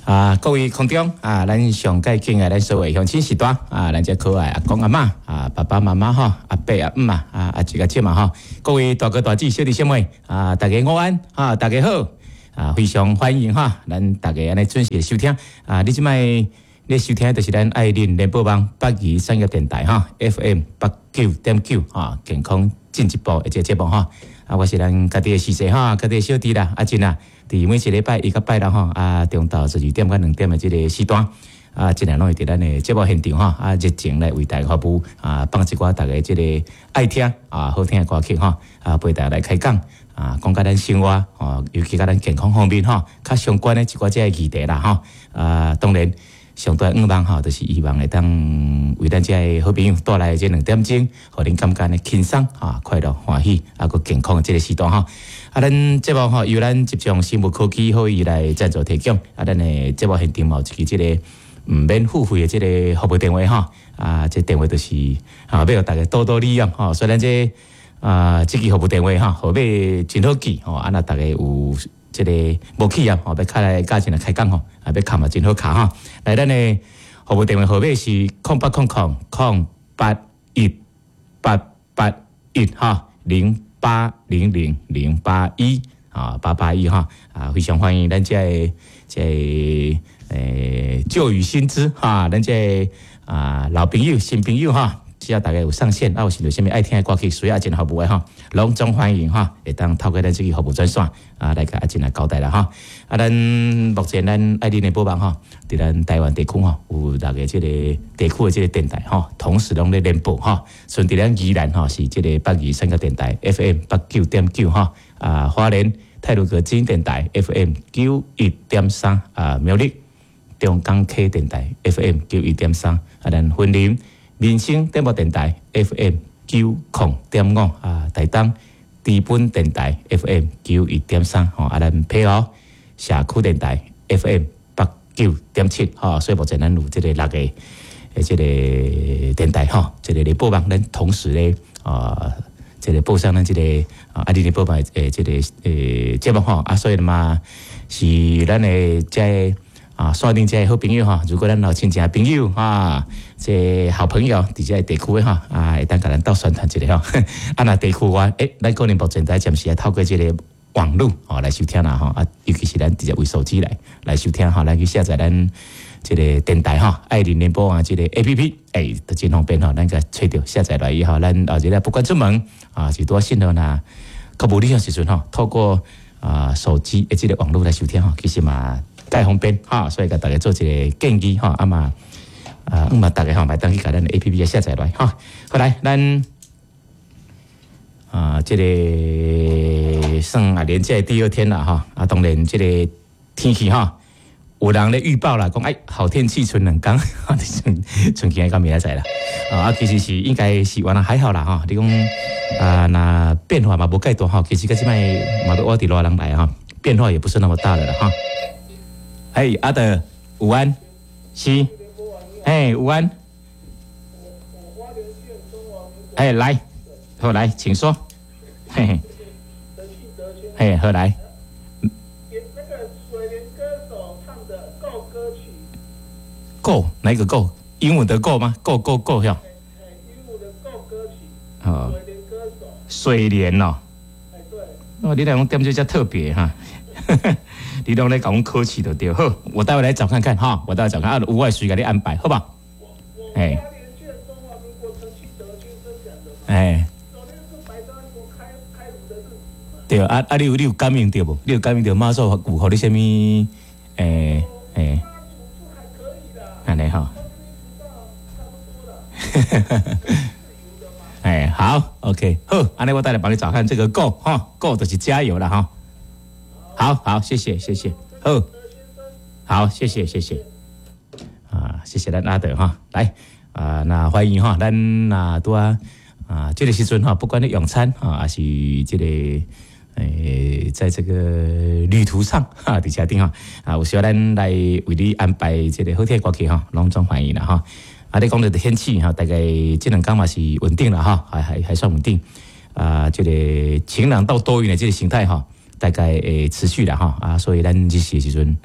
啊，各位空中啊，咱上蓋敬愛咱所有鄉親序大啊，咱遮可愛阿公阿嬤啊，爸爸媽媽吼，阿伯阿姆啊，啊阿叔阿姐嘛吼，各位大哥大姐小弟小妹啊，大家午安啊，大家好啊，非常歡迎哈，咱大家按呢準時收聽啊，你這擺你收聽就是咱愛鄰聯播網北宜產業電台哈，FM 89.9哈，健康進一步的這個節目哈。啊，我是咱家己的司機哈，家己的小弟啦，阿珍啊，佇每一禮拜一佮拜六吼，啊，中晝12點到2點的這個時段，啊，盡量攏會佇咱的節目現場吼，啊，熱情來為大家服務，啊，放一寡大家這個愛聽啊，好聽的歌曲吼，啊，陪大家來開講，啊，講佮咱生活，吼，尤其佮咱健康方面吼，較相關的一寡這個議題啦吼，啊，當然。上大願望吼，就是希望會當為咱遮个好朋友帶來這2點鐘，予恁感覺呢輕鬆啊、快樂、歡喜啊，閣健康的這個時段吼。啊，咱節目吼由咱集中生物科技好伊來贊助提供。啊，咱的節目現場嘛有一支這個毋免付費的這個服務電話吼。啊，這電話就是啊，欲予大家多多利用吼。所以咱這啊，這支服務電話吼，號碼真好記吼。啊，若大家有這個無去啊，吼，欲敲來佮咱來開講吼，啊，欲敲嘛真好敲吼。來，咱的服務電話號碼是0800 081 881哈，0800 081啊，881哈，啊，非常歡迎咱這個這個舊雨新知哈，咱這個啊老朋友、新朋友哈。只要大家有上線，啊有想著啥物愛聽的歌曲，需要阿珍服務的吼，攏總歡迎哈，會當透過咱這個服務專線啊來共阿珍來交代啦哈。啊，咱目前咱愛鄰聯播網吼，佇咱台灣地區吼，有六个這個地區的這個電台吼，同時攏咧聯播吼。像佇咱宜蘭吼是這個北宜三個電台 FM 89.9吼，啊花蓮太魯閣之音電台 FM 91.3啊苗栗中港溪電台 FM 91.3啊，咱雲林民生廣播電台 FM 90.5啊，台東知本電台 FM 91.3吼，啊，咱澎湖社區電台 FM 89.7吼，所以目前咱有這個六個的這個電台吼，這個聯播網，咱同時咧啊，這個播上咱這個啊，愛鄰聯播網的這個節目吼，啊，所以嘛是咱的這個啊，線頂這個好朋友吼，如果咱有親情朋友啊，這好朋友佇這個地區的吼，啊，會當共咱鬥宣傳一下吼。啊，若地區外，咱可能目前在暫時愛透過這個網路吼來收聽啦吼，啊，尤其是咱直接為手機來收聽吼，咱去下載咱這個電台吼，愛鄰聯播網這個 APP，都真方便吼，咱共揣著下載來以後，咱後日不管出門啊，是拄信號若較無理想時陣吼，透過啊手機的這個網路來收聽吼，其實嘛蓋方便哈，所以共大家做一個建議吼，啊嘛啊，嘛大家吼，會當去共咱的 APP 下載來哈。好來，咱啊，這個算啊連假的第二天啦哈，啊，當然這個天氣哈，有人咧預報啦，講哎好天氣賰兩工，賰賰今仔到明仔載啦。啊，其實是應該是原來還好啦哈。你講啊，若變化嘛無蓋大吼，其實佮這擺嘛都我佇熱人來哈，變化也不是那麼大的啦哈。嘿，阿德，午安，是，嘿，午安，哎，來，好來，請說，嘿嘿，嘿，好來。那個水蓮歌手唱的《Go》歌曲。 Go 哪一個 Go？英文的 Go 嗎？Go Go Go 喲。英文的 Go 歌曲。哦。水蓮歌手。水蓮哦。哎，對。哦，你來講點這遮特別哈。你攏咧共阮考試就對。好，我待會來找看看哈，我待會找看啊，有我隨共你安排，好吧？哎。哎。對啊啊！你有感應著無？你有感應著媽祖有予你啥物？欸欸，按呢吼。哎，好，OK，好，按呢我待咧幫你找看這個 Go 哈，Go 就是加油了哈。好好，謝謝謝謝，好，好，謝謝謝謝，啊，謝謝咱阿德哈，來啊，那歡迎哈，咱啊拄啊啊，這個時陣哈，不管你用餐啊，還是這個在這個旅途上哈，佇車頂哈，啊，有需要咱來為你安排這個好聽的歌曲哈，攏總歡迎啦哈。啊，你講的天氣哈，大概這兩工嘛是穩定了哈，還算穩定。啊，這個晴朗到多雲的這個形態哈，大概會持續啦哈。啊，所以咱日時的時陣，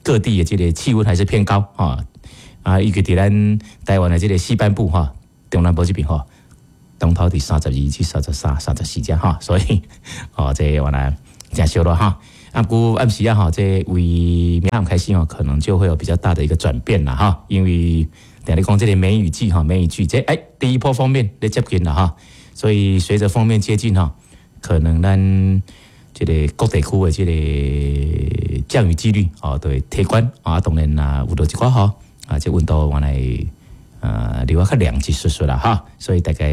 各地的這个氣溫還是偏高哈。啊，尤其佇咱台灣的這个西半部哈，中南部這邊吼，當頭佇32至33、34遮哈，所以哦，這原來誠燒熱哈。啊，毋過暗時啊吼，這為明暗開始吼，可能就會有比較大的一個轉變啦哈，因為定咧講這个梅雨季哈，梅雨季這欸第一波鋒面咧接近啦哈，所以隨着鋒面接近哈，可能咱這个各地區的這个降雨幾率哦，都會提懸啊，當然啦，有落一寡雨啊，這溫度原來留較涼一絲絲啦哈，所以大概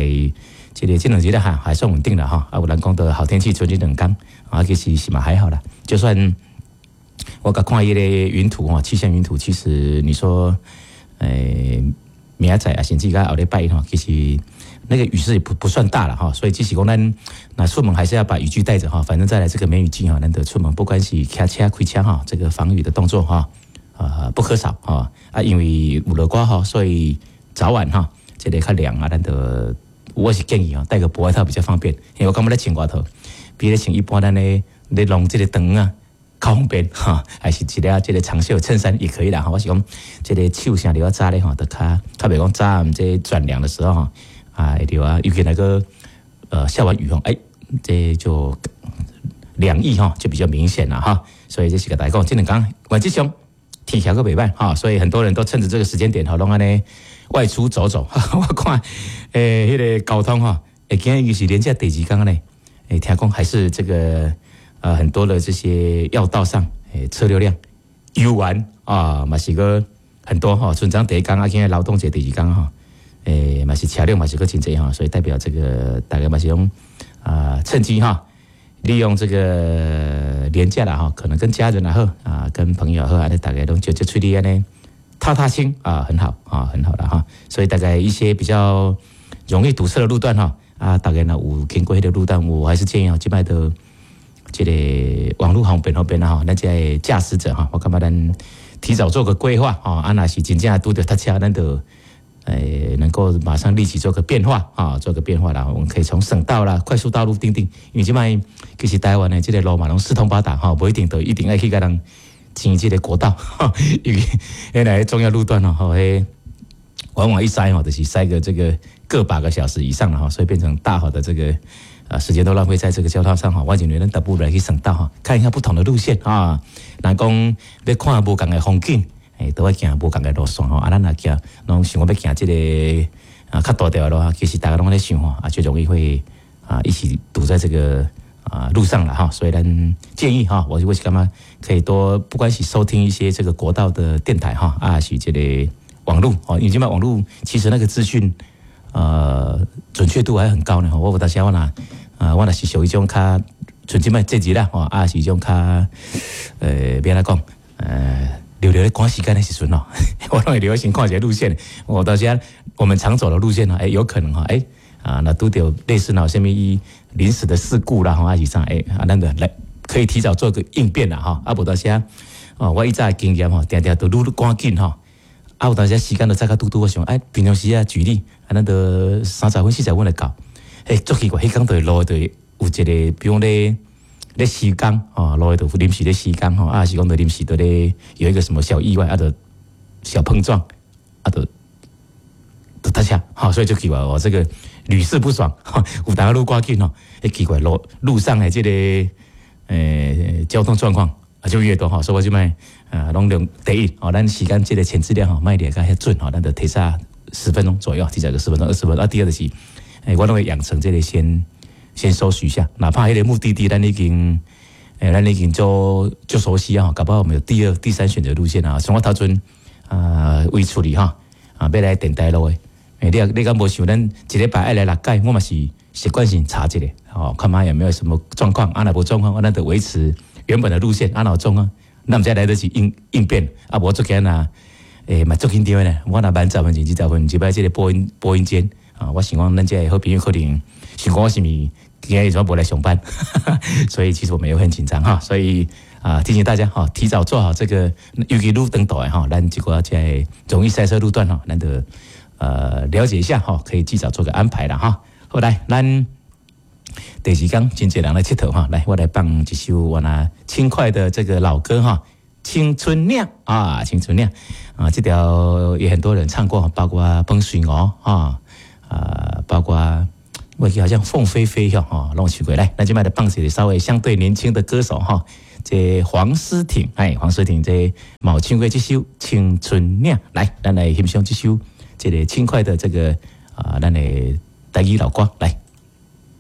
這个這兩日哈還算穩定啦哈，啊有人講的好天氣賰這兩工啊，其實是嘛還好啦，就算我共看彼个雲圖哈，氣象雲圖，其實你說明仔載啊，甚至到後禮拜一哈，其實那個雨勢也不算大了哈，所以即使講咱那出門還是要把雨具帶着哈，反正再來這個梅雨季哈，難得出門，不管是騎車開車哈，這個防雨的動作哈，不可少哈啊，因為有落寡雨，所以早晚哈，這个較涼啊，咱就我是建議啊，帶個薄外套比較方便，因為我感覺咧穿外套，比咧穿一般咱咧咧弄這个長啊較方便哈，還是一個這个長袖襯衫也可以啦哈。我是講這个手啥著較早咧吼，就較較袂講早暗這轉涼的時候吼，啊會著啊，尤其那個下完雨吼，欸，這就涼意哈就比較明顯啦哈。所以這是共大家講，這兩工原則上天氣閣袂䆀哈，所以很多人都趁着這個時間點吼，攏按呢外出走走。我看彼个交通哈，欸，今日是連假第二工呢，欸，聽講還是這個很多的這些要道上，欸，車流量猶原啊，嘛是閣很多哈。春漳第一工啊，今日勞動節第二工哈，欸，嘛是車輛嘛是閣真濟哈，所以代表這個大家嘛是用啊，趁機哈，利用這個連假啦哈，可能跟家人也好啊，跟朋友也好，按呢大家攏就出去按呢踏踏青啊，很好啊，很好了哈。所以大概一些比較容易堵車的路段哈，啊，大家若有經過彼个路段，我還是建議啊，這擺的這个網路方便方便啦吼，咱這个駕駛者哈，我感覺咱提早做個規劃吼，啊，若是真正拄著塞車，咱就能夠馬上立即做個變化啊，做個變化啦。我們可以從省道啦、快速道路等等，因為這擺其實台灣的這个路嘛，攏四通八達哈，無一定就一定愛去共人爭這个國道，因為彼个重要路段哦，吼，彼往往一塞吼，就是塞個這個個把個小時以上了哈，所以變成大好的這個時間都浪費在這個交通上哈。我認為咱倒不如來去省道哈，看一下不同的路線啊。人講欲看無仝的風景，欸，都愛行無仝的路線吼。啊，咱若行，攏想講欲行這个啊較大條的路啊，其實大家攏咧想吼，啊，就容易會啊一起堵在這個啊路上了哈。所以咱建議哈，我是感覺可以多，不管是收聽一些這個國道的電台哈，啊是這個網路哦，因為這擺網路其實那個資訊準確度還很高呢。我有當時我若啊，我若是屬於這種較像這擺這節啦，吼，啊是這種較欲按怎講，留留咧趕時間的時陣哦，我攏會留先看一下路線。我到時我們常走的路線呢，欸，有可能哈，欸，啊，若拄著類似若啥物臨時的事故啦，吼，還是啥，欸，啊，咱就來可以提早做個應變啦，吼，啊，無當時哦，我以前的經驗吼，定定都愈趕緊吼，啊，有當時時間都早較拄拄，我想，哎，平常時啊，舉例，啊，咱都30分、40分就到，欸，足奇怪，彼工就路就有一個，比如講咧咧施工，哦，路就臨時咧施工，吼，啊，是講就臨時就咧有一個什麼小意外，啊，就小碰撞，啊，就就塞車，吼，所以就奇怪哦，這個屢試不爽，有當愈趕緊吼，欸，奇怪路路上的這个交通狀況啊就越多吼，所以我這擺啊攏用第一哦，咱時間這个前置量吼，莫掠甲遐準吼，咱就提早10分鐘左右，提早個十分鐘、20分鐘。啊，第二就是，欸，我攏會養成這个先搜尋一下，哪怕彼个目的地咱已經，欸，咱已經做足熟悉啊，搞不好我們有第二、第三選擇路線啊。像我頭陣啊，為處理哈啊，欲來電台路的，欸，你敢無想咱一禮拜愛來六擺，我嘛是習慣性查一下，吼，看覓有沒有什麼狀況，啊，若無狀況，咱就維持原本的路線，啊，若有狀況，咱毋才來得及應變，啊，無足驚啊，欸，嘛足緊張的呢。我若慢十分鐘、20分，一擺這个播音間啊，我想講咱這个好朋友可能想講我是毋是今日怎無來上班，所以其實我們也會很緊張哈。所以啊，提醒大家哈，提早做好這個，尤其愈長途的哈，咱這个在容易塞車路段哈，咱就了解一下哈，可以提早做個安排啦哈。好來，咱第二工真濟人來𨑨迌哈，來我來放一首我那輕快的這個老歌哈，青春嶺》啊，《青春嶺》啊，這條也很多人唱過，包括彭水娥啊，啊，包括我記好像鳳飛飛吼，攏唱過來。咱這擺來放一個稍微相對年輕的歌手哈，這黃詩婷，哎，黃詩婷這嘛有唱過這首《青春嶺》，來，咱來欣賞這首這個輕快的這個啊，咱的台語老歌來。